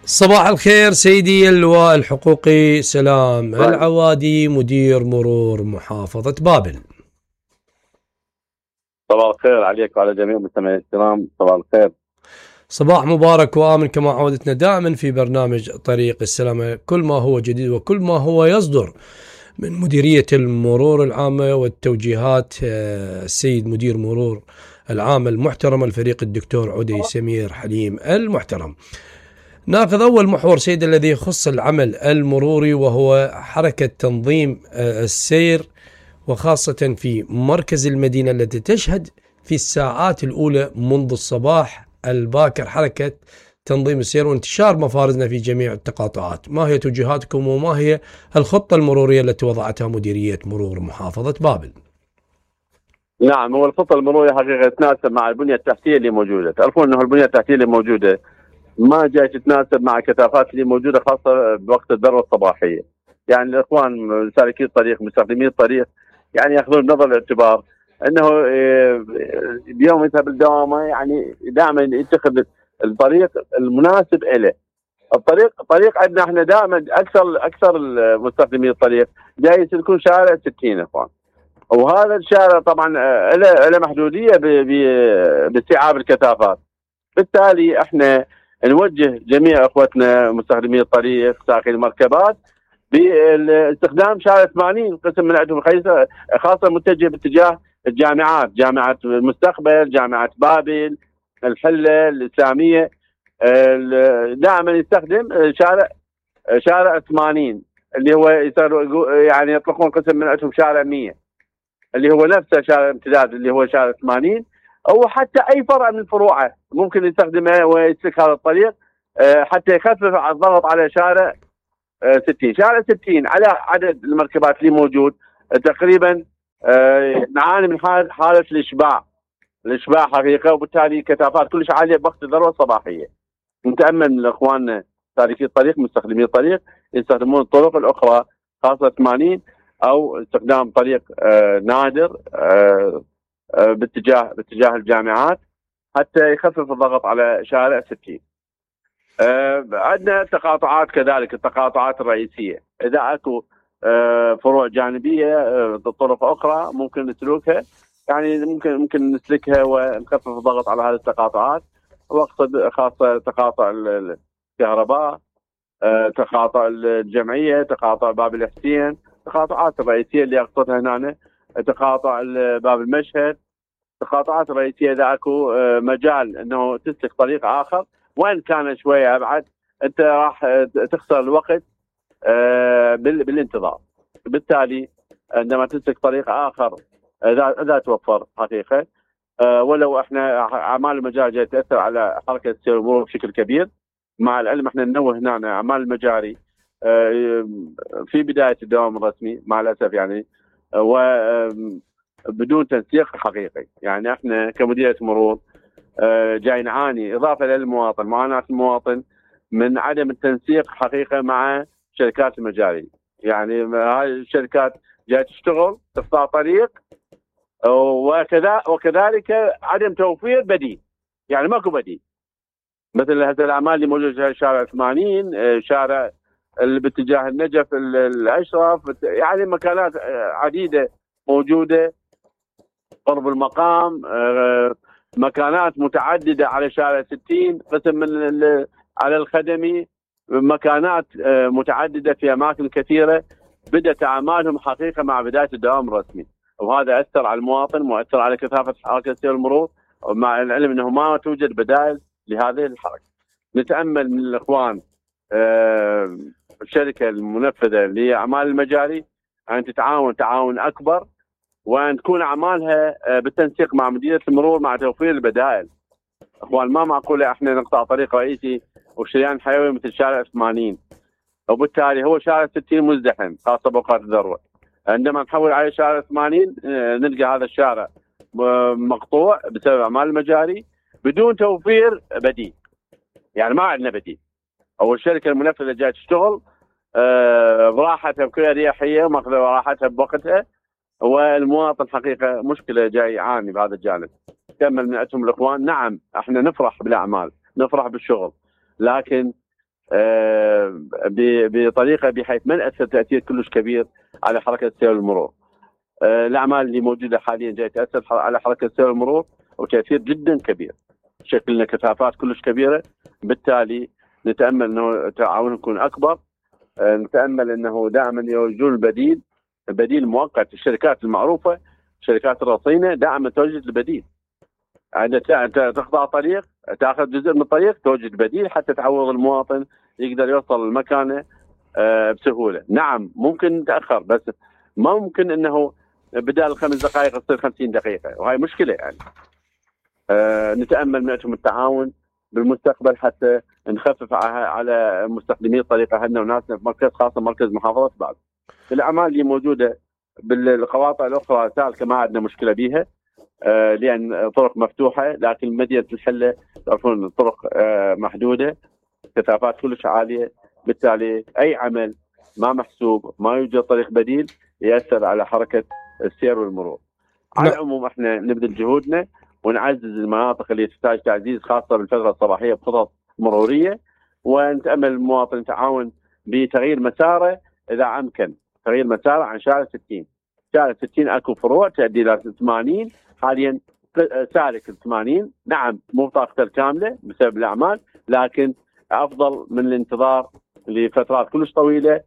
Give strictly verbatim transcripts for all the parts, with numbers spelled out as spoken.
صباح الخير سيدي اللواء الحقوقي سلام العوادي مدير مرور محافظة بابل. صباح الخير عليك وعلى جميع المستمعين الكرام. صباح الخير. صباح مبارك وآمن كما عودتنا دائما في برنامج طريق السلامة، كل ما هو جديد وكل ما هو يصدر من مديرية المرور العامة والتوجيهات السيد مدير مرور العام المحترم الفريق الدكتور عدي سمير حليم المحترم. ناخذ أول محور سيد الذي يخص العمل المروري، وهو حركة تنظيم السير، وخاصة في مركز المدينة التي تشهد في الساعات الأولى منذ الصباح الباكر حركة تنظيم السير وانتشار مفارزنا في جميع التقاطعات. ما هي توجيهاتكم وما هي الخطة المرورية التي وضعتها مديرية مرور محافظة بابل؟ نعم، هو الخطة المرورية حقيقة تتناسب مع البنية التحتية اللي موجودة. تعرفون أنه البنية التحتية اللي موجودة ما جاي تتناسب مع الكثافات اللي موجودة، خاصة بوقت الذروة الصباحية. يعني الإخوان سالكي الطريق مستخدمي الطريق يعني يأخذون بنظر الاعتبار أنه اليوم يذهب الدوامة، يعني دائما يتخذ الطريق المناسب له. الطريق الطريق عندنا احنا دائما أكثر أكثر مستخدمي الطريق جاي يسلكون شارع ستين إخوان، وهذا الشارع طبعا له له محدودية باستيعاب الكثافات. بالتالي احنا نوجه جميع اخوتنا مستخدمي الطريق ساقي المركبات باستخدام شارع ثمانين قسم من عندهم، خاصه متجه باتجاه الجامعات، جامعه المستقبل، جامعه بابل، الحله الاسلاميه، دائما يستخدم شارع شارع ثمانين اللي هو يعني يطلقون قسم من عندهم شارع مية اللي هو نفسه شارع الامتداد اللي هو شارع ثمانين، او حتى اي فرع من فروعه ممكن يستخدمه ويسلك هذا الطريق حتى يخفف الضغط على شارع ستين. شارع ستين على عدد المركبات اللي موجود تقريبا نعاني من حاله الاشباع الاشباع حقيقه، وبالتالي كثافات كلش عاليه بوقت الذروه الصباحيه. نتامل من اخواننا سالكي الطريق مستخدمي الطريق يستخدمون الطرق الاخرى خاصه ثمانين او استخدام طريق نادر باتجاه باتجاه الجامعات حتى يخفف الضغط على شارع ستين. أه عندنا تقاطعات كذلك، التقاطعات الرئيسيه اذا اكو أه فروع جانبيه أه طرق اخرى ممكن نسلكها، يعني ممكن ممكن نسلكها ونخفف الضغط على هذه التقاطعات، واقصد خاصه تقاطع الكهرباء، أه تقاطع الجمعيه، تقاطع باب الحسين، التقاطعات الرئيسيه اللي اقصدها هنا، تقاطع باب المشهد، تقاطعات رئيسيه اذا اكو مجال انه تسلك طريق اخر وان كان شويه ابعد انت راح تخسر الوقت بالانتظار. بالتالي عندما تسلك طريق اخر اذا اذا توفر حقيقه، ولو احنا اعمال المجاري جايه تاثر على حركه السير والمرور بشكل كبير، مع العلم احنا ننوه هنا اعمال المجاري في بدايه الدوام الرسمي مع الاسف يعني و بدون تنسيق حقيقي. يعني احنا كمديريه مرور جاي نعاني اضافه للمواطن، معاناه المواطن من عدم التنسيق حقيقه مع شركات المجاري. يعني هاي الشركات جايه تشتغل تقطع طريق وكذا وكذلك عدم توفير بديل، يعني ماكو بديل. مثل هذه الاعمال اللي موجوده في شارع ثمانين، شارع اللي باتجاه النجف الاشرف، يعني مكانات عديده موجوده قرب المقام، مكانات متعدده على شارع ستين، قسم من على الخدمي، مكانات متعدده في اماكن كثيره بدات اعمالهم حقيقه مع بدايه الدوام الرسمي، وهذا اثر على المواطن واثر على كثافه حركه سير المرور، مع العلم انه ما توجد بدائل لهذه الحركه. نتامل من الاخوان الشركه المنفذه لاعمال المجاري ان تتعاون تعاون اكبر، وان تكون اعمالها بالتنسيق مع مديريه المرور مع توفير البدائل. اخوان ما معقوله احنا نقطع طريق رئيسي وشريان حيوي مثل شارع ثمانين، وبالتالي هو شارع ستين مزدحم خاصه باوقات الذروه. عندما نحول على شارع ثمانين نلقى هذا الشارع مقطوع بسبب اعمال المجاري بدون توفير بديل، يعني ما عندنا بديل. او الشركه المنفذه جايه تشتغل براحتها بكل اريحيه وماخذه راحتها بوقتها، والمواطن حقيقه مشكله جاي يعاني بهذا الجانب. كمل من عندهم الاخوان، نعم احنا نفرح بالاعمال، نفرح بالشغل، لكن بطريقه بحيث ما نأثر تاثير كلش كبير على حركه السير والمرور. الاعمال اللي موجوده حاليا جاي تاثر على حركه السير والمرور وتاثير جدا كبير، شكل لنا كثافات كلش كبيره، بالتالي نتامل انه تعاون يكون اكبر. نتامل انه دائما يوجدون البديل، بديل مؤقت. الشركات المعروفه، شركات الرصينه، دائما توجد البديل. عندما تقطع طريق تاخذ جزء من الطريق توجد بديل حتى تعوض المواطن يقدر يوصل لمكانه بسهوله. نعم ممكن نتاخر، بس ما ممكن انه بدال خمس دقائق تصير خمسين دقيقه، وهي مشكله يعني. أه نتامل منكم التعاون بالمستقبل حتى نخفف على مستخدمي الطريق اهلنا وناسنا في مركز، خاصه مركز محافظه بعد. الاعمال اللي موجوده بالقواطع الاخرى سالكه ما عندنا مشكله بها، أه لان طرق مفتوحه، لكن مدينه الحله تعرفون الطرق أه محدوده، كثافات كلش عاليه، بالتالي اي عمل ما محسوب، ما يوجد طريق بديل، ياثر على حركه السير والمرور. على العموم احنا نبذل جهودنا ونعزز المناطق اللي تحتاج تعزيز، خاصه بالفتره الصباحيه بخطط مروريه، ونتامل المواطن يتعاون بتغيير مساره اذا امكن، تغيير مساره عن شارع ستين. شارع ستين اكو فروع تؤدي الى ثمانين، حاليا سالك ثمانين، نعم مو طاقته الكامله بسبب الاعمال، لكن افضل من الانتظار لفترات كلش طويله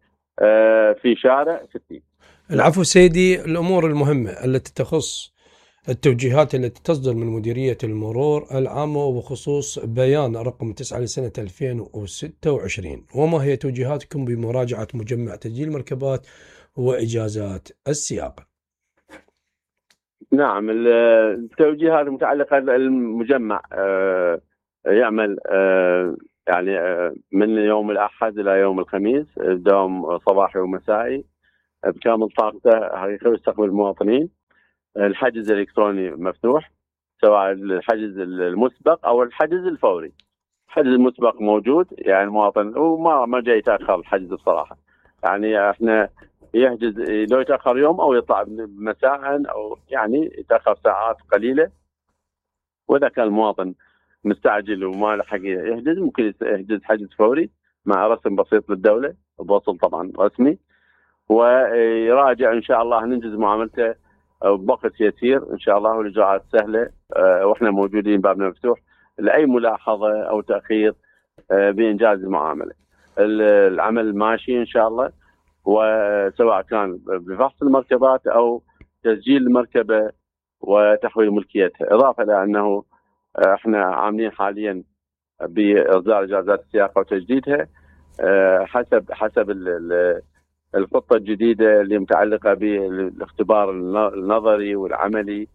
في شارع ستين. العفو سيدي. الامور المهمه التي تخص التوجيهات التي تصدر من مديرية المرور العامة وبخصوص بيان رقم تسعة لسنة ألفين وستة وعشرين، وما هي توجيهاتكم بمراجعة مجمع تسجيل المركبات وإجازات السياقة؟ نعم التوجيهات المتعلقة المجمع يعمل يعني من يوم الأحد إلى يوم الخميس، دوام صباحي ومسائي بكامل طاقته حقيقة يستقبل المواطنين. الحجز الالكتروني مفتوح، سواء الحجز المسبق او الحجز الفوري. الحجز المسبق موجود، يعني المواطن وما ما جاي يتاخر الحجز بصراحه، يعني احنا يحجز لو يتاخر يوم او يطلع مساء او يعني يتاخر ساعات قليله، واذا كان المواطن مستعجل وما لحق يحجز ممكن يحجز حجز فوري مع رسم بسيط للدوله بوصل طبعا رسمي، ويراجع ان شاء الله ننجز معاملته بوقت يسير ان شاء الله، والاجراءات سهله، أه واحنا موجودين بابنا مفتوح لاي ملاحظه او تاخير أه بانجاز المعامله. العمل ماشي ان شاء الله، وسواء كان بفحص المركبات او تسجيل المركبه وتحويل ملكيتها، اضافه الى انه احنا عاملين حاليا باصدار اجازات السياقه وتجديدها أه حسب حسب الخطة الجديدة اللي متعلقة بالاختبار النظري والعملي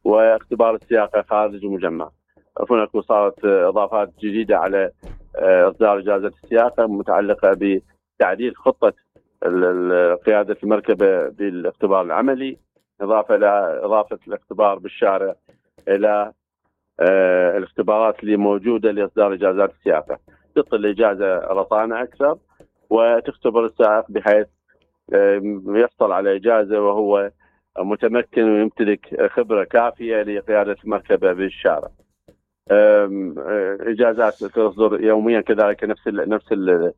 واختبار السياقة خارج المجمع. هناك صارت إضافات جديدة على إصدار إجازة السياقة متعلقة بتعديل خطة قيادة المركبة بالاختبار العملي، إضافة إلى إضافة الاختبار بالشارع إلى الاختبارات اللي موجودة لإصدار إجازات السياقة. تعطي الإجازة رصانة أكثر وتختبر السائق بحيث يحصل على إجازة وهو متمكن ويمتلك خبرة كافية لقيادة المركبة بالشارع. إجازات تصدر يوميا كذلك، نفس ال نفس ال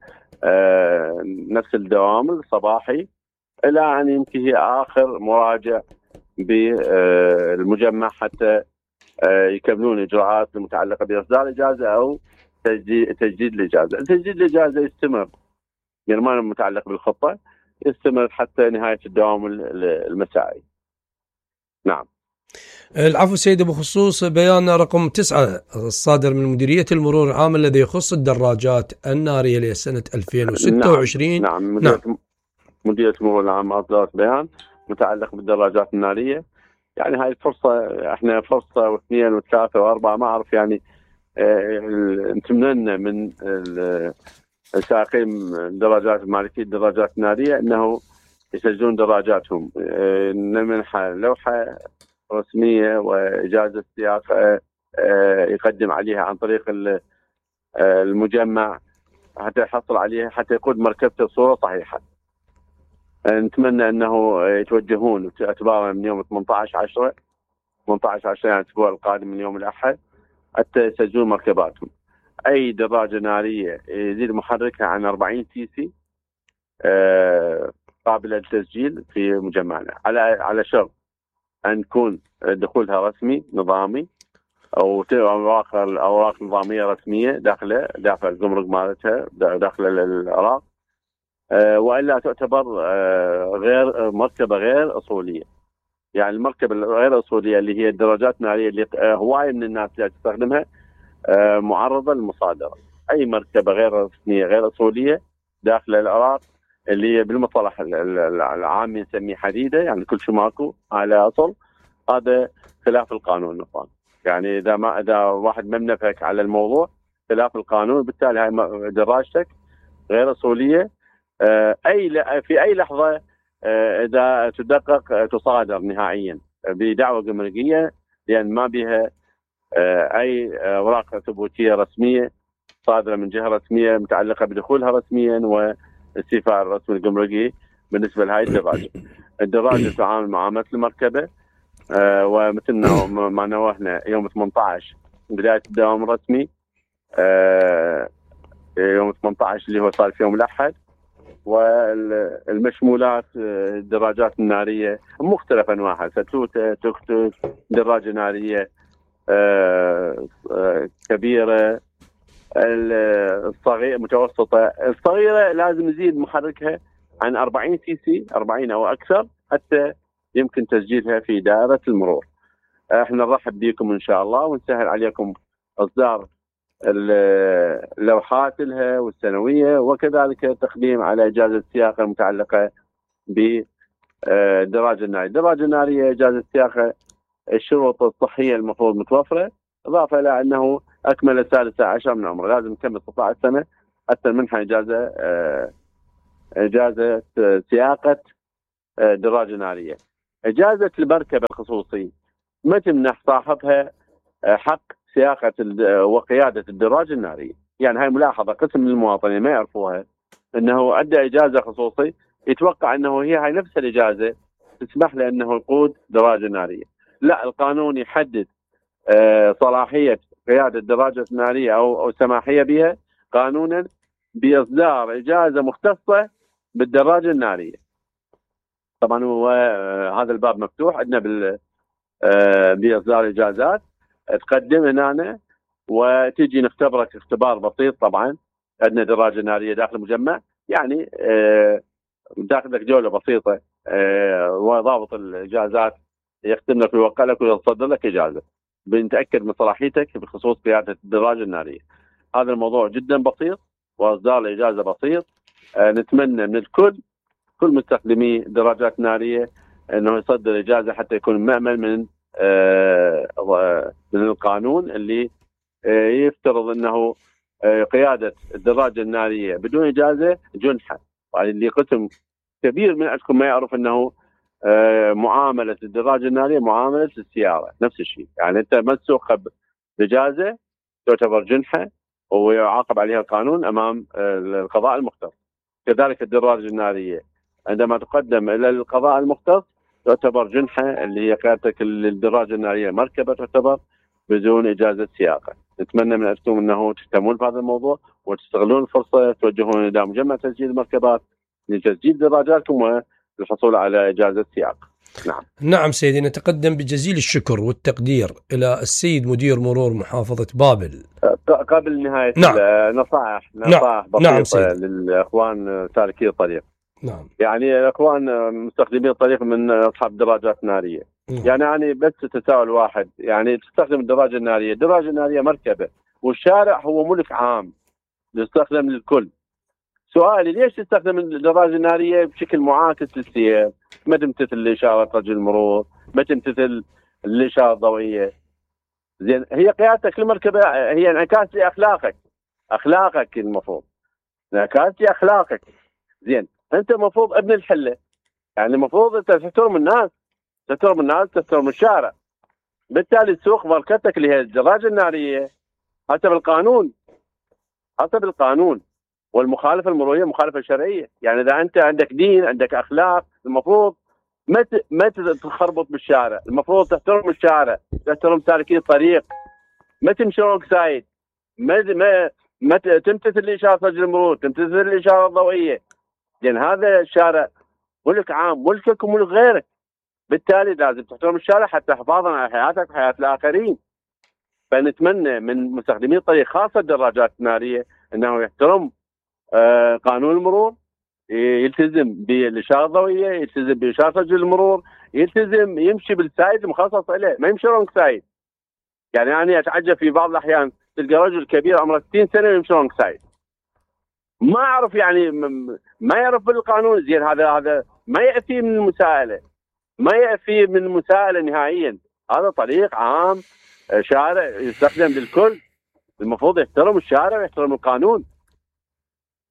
نفس الدوام الصباحي، إلى أن ينتهي آخر مراجع بالمجمع حتى يكملون إجراءات المتعلقة بإصدار إجازة أو تجديد الإجازة. تجديد الإجازة يستمر، يعني ما متعلق بالخطة، يستمر حتى نهاية الدوام المسائي. نعم. العفو سيدي. بخصوص بيان رقم تسعة الصادر من مديرية المرور العام الذي يخص الدراجات النارية لسنة ألفين وستة وعشرين. نعم, نعم. مديرية, نعم. مديرية المرور العام أصدرت بيان متعلق بالدراجات النارية. يعني هاي الفرصة، احنا فرصة واثنين وثلاثة وأربعة ما أعرف، يعني نتمنى من سائقين الدراجات المالكية الدراجات النارية أنه يسجلون دراجاتهم، نمنحها لوحة رسمية وإجازة سياقة يقدم عليها عن طريق المجمع حتى يحصل عليها، حتى يقود مركبته بصورة صحيحة. نتمنى أنه يتوجهون اعتبارا من يوم ثمانية عشر عشرة ثمانية عشر عشرة يعني الأسبوع القادم من يوم الأحد حتى يسجلون مركباتهم. اي دراجه ناريه يزيد محركها عن أربعين سي سي آه قابله للتسجيل في مجمعنا، على على شرط ان يكون دخولها رسمي نظامي او اوراق اوراق نظاميه رسميه داخله داخل الجمرك مالتها داخل العراق، آه والا تعتبر آه غير مركبه غير اصوليه. يعني المركبه الغير اصوليه اللي هي الدراجات الناريه اللي هوايه من الناس اللي تستخدمها آه معرضه للمصادره. اي مركبه غير رسميه غير اصوليه داخل العراق اللي هي بالمصطلح العامي نسميه حديده، يعني كل شيء ماكو على اصل، هذا خلاف القانون نظام. يعني اذا ما اذا واحد ما منفك على الموضوع خلاف القانون، بالتالي هاي دراجتك غير اصوليه. آه اي في اي لحظه آه اذا تدقق تصادر نهائيا بدعوه جمركيه، لان ما بها آه اي اوراق ثبوتيه رسميه صادره من جهه رسميه متعلقه بدخولها رسميا واستيفاء الرسم الجمركي بالنسبه لهي الدراجه. الدراجه تتعامل معامله المركبه، آه ومثل ما نوهنا يوم ثمانية عشر بدايه الدوام الرسمي، آه يوم ثمانية عشر اللي هو صار في يوم الاحد. والمشمولات الدراجات الناريه مختلف انواعها، ستوته، توك توك، دراجه ناريه آه آه كبيره، الصغيره متوسطه. الصغيره لازم نزيد محركها عن أربعين سي سي، أربعين او اكثر، حتى يمكن تسجيلها في دائره المرور. احنا نرحب بكم ان شاء الله ونسهل عليكم اصدار اللوحات لها والسنويه، وكذلك تقديم على اجازه السياقه المتعلقه بالدراجه الناريه. الدراجه الناريه اجازه السياقه الشروط الصحيه المفروض متوفره، اضافه الى انه اكمل السادسه عشر من عمره، لازم يكمل ستة عشر سنه حتى منحه اجازه اجازه سياقه دراجه ناريه. اجازه المركبه الخصوصي ما تمنح صاحبها حق سياقه وقياده الدراجه الناريه. يعني هاي ملاحظه قسم من المواطنين ما يعرفوها، انه ادى اجازه خصوصي يتوقع انه هي هاي نفس الاجازه تسمح له انه يقود دراجه ناريه. لا، القانون يحدد آه صلاحيه قياده الدراجه الناريه او او سماحيه بها قانونا باصدار اجازه مختصه بالدراجه الناريه. طبعا هو آه هذا الباب مفتوح عندنا بال آه باصدار اجازات، تقدم هنا وتجي نختبرك اختبار بسيط. طبعا عندنا دراجه ناريه داخل المجمع، يعني آه داخلك جوله بسيطه، آه وضابط الاجازات يختم ويوقع لك ويصدر لك اجازه بنتاكد من صلاحيتك بخصوص قياده الدراجه الناريه. هذا الموضوع جدا بسيط واصدار الاجازه بسيط. آه نتمنى من الكل، كل مستخدمي الدراجات الناريه، انه يصدر اجازه حتى يكون مأمن من آه من القانون اللي آه يفترض انه آه قياده الدراجه الناريه بدون اجازه جنحه. يعني اللي قسم كبير من عندكم ما يعرف انه آه معامله الدراجه الناريه معامله السياره نفس الشيء. يعني انت ما تسوقها باجازه تعتبر جنحه ويعاقب عليها القانون امام آه القضاء المختص. كذلك الدراجه الناريه عندما تقدم الى القضاء المختص تعتبر جنحه، اللي هي قيادتك الدراجه الناريه مركبه تعتبر بدون اجازه سياقه. نتمنى من عندكم انه تهتمون بهذا الموضوع وتستغلون الفرصه، توجهون الى مجمع تسجيل المركبات لتسجيل دراجاتكم والحصول على اجازه سياق. نعم. نعم سيدي، نتقدم بجزيل الشكر والتقدير الى السيد مدير مرور محافظه بابل. قبل نهايه نعم. نصائح نصائح نعم. بسيطه نعم للاخوان سالكي الطريق. نعم. يعني الاخوان مستخدمين الطريق من اصحاب دراجات ناريه. نعم. يعني يعني بس تساؤل واحد، يعني تستخدم الدراجه الناريه، الدراجه الناريه مركبه والشارع هو ملك عام يستخدم للكل. سؤالي ليش تستخدم الدراجه الناريه بشكل معاكس للسير؟ ما تمتثل لاشاره رجل المرور، ما تمتثل الاشاره الضوئيه. زين، هي قيادتك للمركبه هي انعكاس لاخلاقك، اخلاقك المفروض انعكاس لاخلاقك. زين، انت المفروض ابن الحله، يعني المفروض انت تحترم الناس، تحترم الناس، تحترم الشارع. بالتالي تسوق مركبتك اللي هي الدراجه الناريه حسب القانون، حسب القانون. والمخالفه المروريه مخالفه شرعيه. يعني اذا انت عندك دين، عندك اخلاق، المفروض ما ما تخربط بالشارع، المفروض تحترم الشارع، تحترم سالكي الطريق، ما تمشي روك سايد. ما ما, ما تمتثل الاشاره سجل المرور، تمتثل الاشاره الضوئيه، لان هذا الشارع ملك عام، ملكك وملك غيرك، بالتالي لازم تحترم الشارع حتى حفاظا على حياتك وحياه الاخرين. فنتمنى من مستخدمي الطريق خاصه الدراجات الناريه انه يحترم آه قانون المرور، يلتزم بالاشاره الضوئيه، يلتزم باشاره سجل المرور، يلتزم يمشي بالسايد المخصص له، ما يمشي رونج سايد. يعني انا اتعجب في بعض الاحيان تلقى رجل كبير عمره ستين سنه ويمشي رونج سايد، ما اعرف يعني ما يعرف بالقانون زين. هذا هذا ما يأتي من المساءله، ما يأتي من المساءله نهائيا. هذا طريق عام، شارع يستخدم للكل، المفروض يحترم الشارع ويحترم القانون.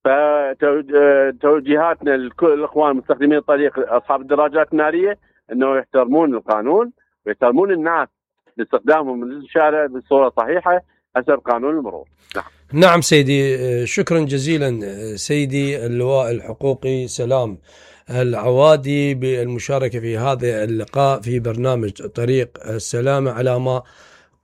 فتوجيهاتنا لكل الاخوان مستخدمين الطريق اصحاب الدراجات الناريه انه يحترمون القانون ويحترمون الناس باستخدامهم للشارع بصوره صحيحه حسب قانون المرور. نعم. نعم سيدي، شكرا جزيلا سيدي اللواء الحقوقي سلام العوادي بالمشاركه في هذا اللقاء في برنامج طريق السلامه، على ما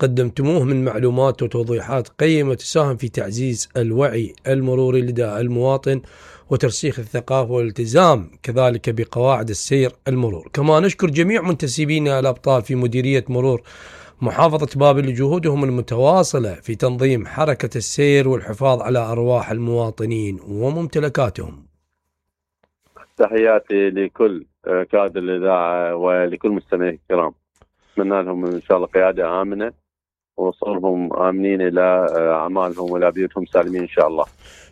قدمتموه من معلومات وتوضيحات قيمة تساهم في تعزيز الوعي المروري لدى المواطن وترسيخ الثقافة والالتزام كذلك بقواعد السير المرور. كما نشكر جميع منتسبين الأبطال في مديرية مرور محافظة بابل لجهودهم المتواصلة في تنظيم حركة السير والحفاظ على أرواح المواطنين وممتلكاتهم. تحياتي لكل كادر الإذاعة ولكل مستمعي الكرام، أتمنى لهم إن شاء الله قيادة آمنة ووصولهم آمنين إلى أعمالهم وإلى بيوتهم سالمين إن شاء الله.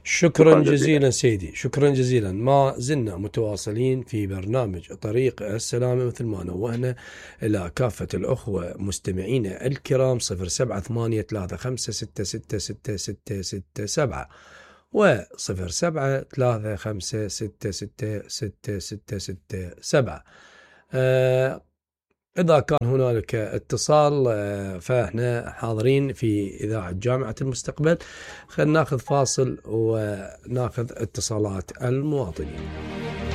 شكرا, شكرا جزيلا سيدي، شكرا جزيلا. ما زلنا متواصلين في برنامج طريق السلامة، مثل ما نوهنا إلى كافة الأخوة مستمعين الكرام صفر سبعة ثمانية ثلاثة خمسة ستة ستة ستة ستة ستة سبعة وصفر سبعة ثلاثة خمسة ستة ستة ستة ستة ستة سبعة. أه إذا كان هنالك اتصال فإحنا حاضرين في إذاعة جامعة المستقبل. خلينا ناخذ فاصل وناخذ اتصالات المواطنين.